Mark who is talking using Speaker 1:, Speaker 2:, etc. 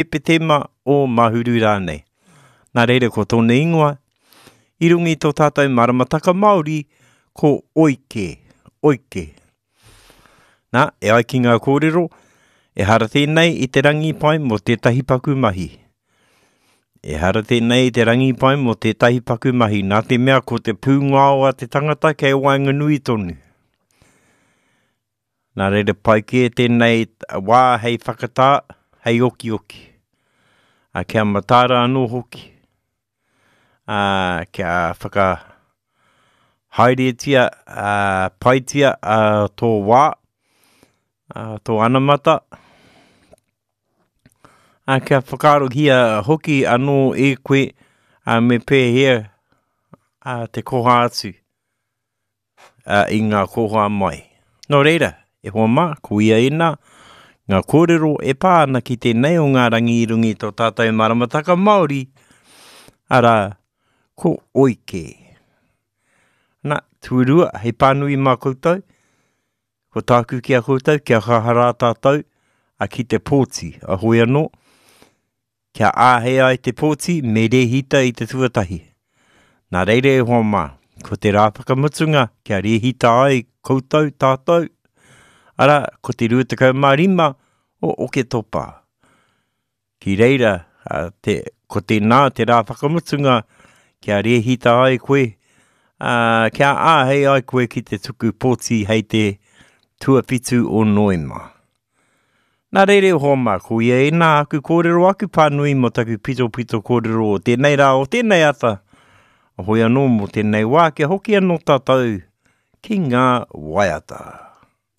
Speaker 1: Hepetema, o Mahuru rānei. Nā reira ko tōna ingoa, i runga i tō tātou maramataka Māori, ko Oike, Oike. Nā, e ai ki ngā kōrero, ehara tēnei i te rangi pai mō tētahi paku mahi. Ehara tēnei i te rangi pai mō tētahi paku mahi, nā te mea ko te pūngao a te tangata kei waenganui tonu. Nā reira pai kē tēnei wā hei whakatā, hei okioki. A, kia mataara anō hoki. A, kia whaka haeretia, a, paitia a, tō wā, a, tō anamata. A, kia whakaarohia hoki anō e koe a, me pēhea a, te koha atu. i ngā koha mai. Nō reira, e hoa mā, ko ia ēnā, ngā kōrero e pā ana ki tēnei o ngā rangi i runga i tō tātou maramataka Māori, arā, ko Oike. Nā, tuarua, hei pānui mā koutou, ko tāku ki a koutou, kia kaha rā tātou, a ki te pōti, a hoi anō, Kia āhei ai te pōti, me rēhita i te tuatahi. Nā reira e hoa mā, ko te rā whakamutunga kia rēhita ai koutou tātou, arā, ko te 25 o Oketopa. Ki reira, te, ko tēnā te rā whakamutunga kia rēhita ai koe, ā, kia āhei ai koe ki te tuku pōti hei te tuawhitu o Noema. Nā reira e hoa mā, ko ia ēnā aku kōrero, aku pānui mō taku pitopito kōrero o tēnei rā, o tēnei ata, hoi anō mō tēnei wā, kia hoki anō tātou ki ngā waiata.